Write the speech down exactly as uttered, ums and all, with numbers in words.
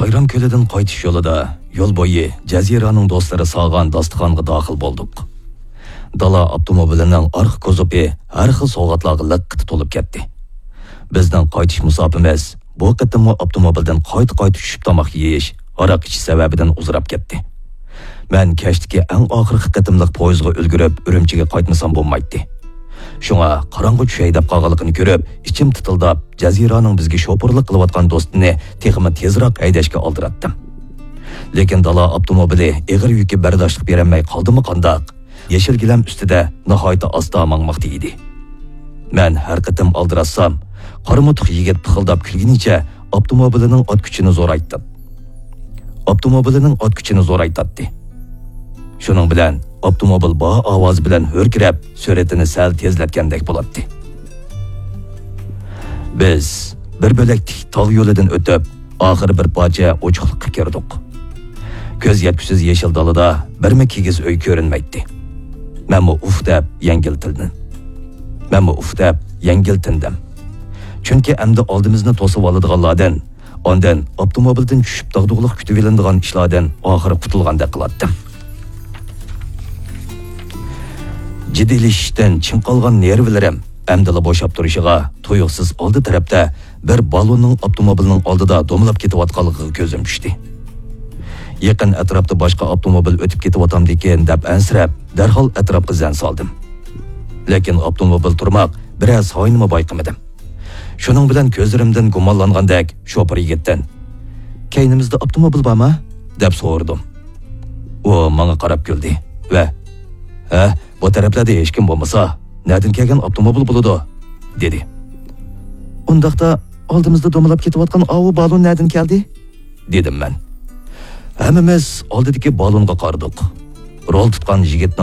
بايرام كۆلىدىن قايتىش يولىدا يول بويى جەزىرانىڭ دوستلىرى سالغان داستىخانغا داخىل بولدۇق. دالا ئاپتوموبىلىنىڭ ئارقا كوزۇپى ھەر خىل سوۋغاتلارغا لىققىدە تولۇپ كەتتى. بىزنىڭ قايتىش مۇساپىمىز بۇ قېتىممۇ ئاپتوموبىلدىن قايتا-قايتا چۈشۈپ تاماق يېيىش، ھاراق ئىچىش سەۋەبىدىن ئۇزىراپ كەتتى. مەن كەچتىكى ئەڭ ئاخىرقى قېتىملىق پويىزغا ئۈلگۈرۈپ، ئۈرۈمچىگە قايتمىسام بولمايتتى. شۇڭا قاراڭغۇ چۈشەي دەپ قالغانلىقىنى كۆرۈپ، ئىچىم تىتىلداپ، جەزىرانىڭ بىزگە شوپۇرلۇق قىلىۋاتقان دوستىنى تېخىمۇ تېزراق ھەيدەشكە ئالدىراتتىم. لېكىن دالا ئاپتوموبىلى ئېغىر يۈككە بەرداشلىق بېرەلمەي قالدىمۇ قانداق؟ يېشىل گىلەم ئۈستىدە ناھايىتى ئاستا ماڭماقتا ئىدى. مەن ھەر قېتىم ئالدىراتسام، قارا موتۇق يىگىت پىخىلداپ كۈلگىنىچە ئاپتوموبىلىنىڭ ئات كۈچىنى زورايتتى. ئاپتوموبىلىنىڭ ئات كۈچىنى زورايتاتتى. شۇنىڭ بىلەن ئاپتوموبىل بار ئاۋازى بىلەن ھۆركىرەپ، سۈرئىتىنى سەل تېزلەتكەندەك بولاتتى. بىز بىر بۆلەكتىك تاغ يولىدىن ئۆتۈپ، ئاخىرى بىر پارچە ئوچۇقلۇققا كىردۇق. كۆز يەتكۈسىز يېشىل دالىدا بىرمۇ كىگىز ئۆي كۆرۈنمەيتتى. مەنمۇ ئۇف دەپ يەڭگىل تىندىم. مەنمۇ ئۇف دەپ يەڭگىل تىندىم. چۈنكى ئەمدى ئالدىمىزنى توسۇۋالىدىغانلاردىن، ئاندىن ئاپتوموبىلدىن چۈشۈپ داغدۇغىلىق كۈتۈۋېلىنىدىغان ئىشلاردىن ئاخىرى قۇتۇلغاندەك قىلاتتىم. جىددىيلىشىشتىن چىڭ قالغان نېرۋىلىرىم ئەمدىلا بوشاپ تۇرۇشىغا، تۇيۇقسىز ئالدى تەرەپتە بىر بالوننىڭ ئاپتوموبىلنىڭ ئالدىدا دومىلاپ كېتىۋاتقانلىقىغا كۆزۈم چۈشتى. يېقىن ئەتراپتا باشقا ئاپتوموبىل ئۆتۈپ كېتىۋاتامدىكىن دەپ ئەنسىرەپ، دەرھال ئەتراپقا زەن سالدىم. لېكىن ئاپتوموبىل تۇرماق بىرەر سايىنمۇ بايقىمىدىم. شۇنىڭ بىلەن كۆزلىرىمدىن گۇمانلانغاندەك شوپۇر يىگىتتىن، «كەينىمىزدە ئاپتوموبىل بارمۇ؟» دەپ سورىدىم. ئۇ ماڭا قاراپ كۈلدى ۋە، «ھە، بۇ تەرەپلەردە ھېچكىم بولمىسا، نەدىن كەلگەن ئاپتوموبىل بولىدۇ؟» دېدى. «ئۇنداقتا، ئالدىمىزدا دومىلاپ كېتىۋاتقان ئاۋۇ بالون نەدىن كەلدى؟» دېدىم مەن. ھەممىمىز ئالدىدىكى بالونغا قارىدۇق. رول تۇتقان يىگىتنىڭ